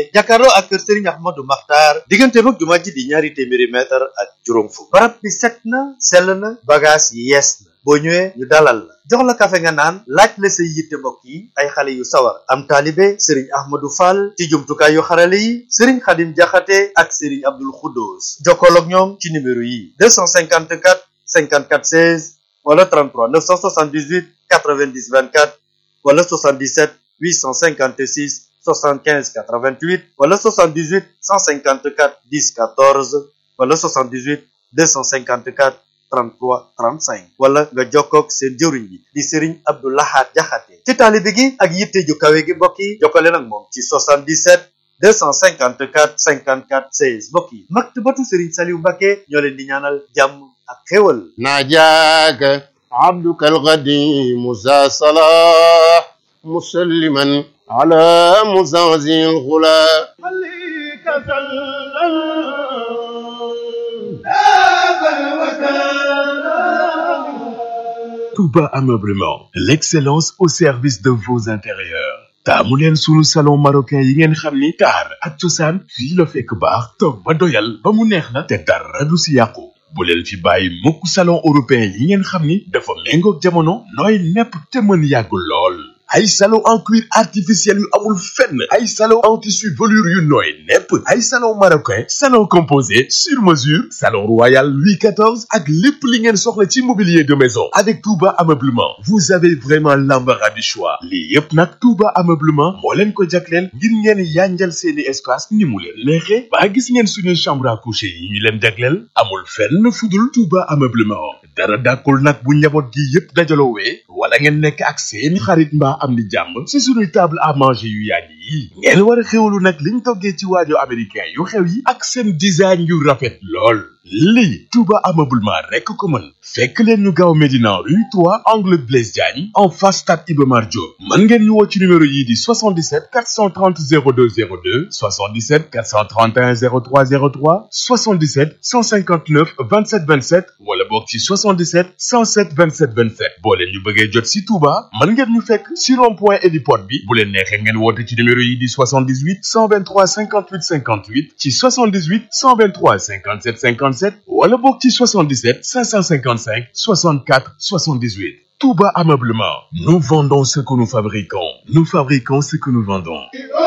jàkkaarloo ak kër Serigne Ahmadou Makhtar diggante mag jumaa ji di ñaari téeméeri mètre ak juróom fukk barab bi set na sell na bagage yi yees na boo ñëwee ñu dalal la jox la kafe nga naan laaj la say yitte mbokk yi ay xale yu sawar am taalibe Serigne Ahmadou Fall ci jumtukaay yu xarale yi Serigne Khadim Diakhaté ak Serigne Abdoul Khoudous jokkool ak ñoom ci numéro yi 254 54 16 wala 33 978 90 24 wala 77 856 75 88 wala 78 154 10 14 wala 78 254 33 35 wala nga jokkoog seen jëwriñ bi di Serigne Abdou Lahad Diakhaté ci taalibe gi ak yitte ju kawe gi mbokk yi jokkale nag moom ci 77 254 54 16 mbokk yi maktabatu Serigne Saliou Mbacké ñoo leen di ñaanal jàmm ak xéwal najaaka abduka alqadim za salah مسلما على مزازي الغلا عليك سلم Touba Ameublement, l'excellence au service de vos intérieurs. taamu leen sunu salon marocain yi ngeen xam ni taar ak cosaan fii la fekk baax toog ba doyal ba mu neex la te dara du si yàqu bu leen fi bàyyi mukk salon européen yi ngeen xam ni dafa méngoog jamono nooy nepp te mën yàggul lool ay salon en cuir artificiel yu amul fenn ay salon en tissu velours yu nooy nepp ay salon marocain salon composé sur mesure salon royal Louis XIV ak lépp li ngeen soxla ci mobilier de maison avec Touba Ameublement vous avez vraiment l'embarras du choix lii yépp nag Touba Ameublement moo leen ko jagleel ngir ngeen yanjal seeni espace ni mu leen neexee ba gis ngeen suñu chambre à coucher yi ñu leen jagleel amul fenn fudul Touba Ameublement dara dàkkul nag bu njaboot gi yépp dajaloowee wala ngeen nekk ak seeni xarit mbaa am di jàmm ci suñuy table à manger yu yàgg yi ngeen war a xewlu nag liñ toggee ci waajo américain yu xew yi ak seen design yu rafet lool lii Touba Ameublement rekk ko mën fekk leen ñu gaaw Médina rue 3 angle Blaise Diagne en face stade Iba Mar Diop mën ngeen ñu woo ci numéro yii di 77 430 02 02 77 431 03 03 77 159 27 27 wala boog ci 77 107 27 27 boo leen ñu bëggee jot ci Touba mën ngeen ñu fekk ci rond-point héliport bi bu leen neexee ngeen woote ci numéro yi di 78 123 58 58 ci 78 123 57 57 wala boog ci 77 555 64 78 Touba Ameublement nous vendons ce que nous fabriquons ce que nous vendons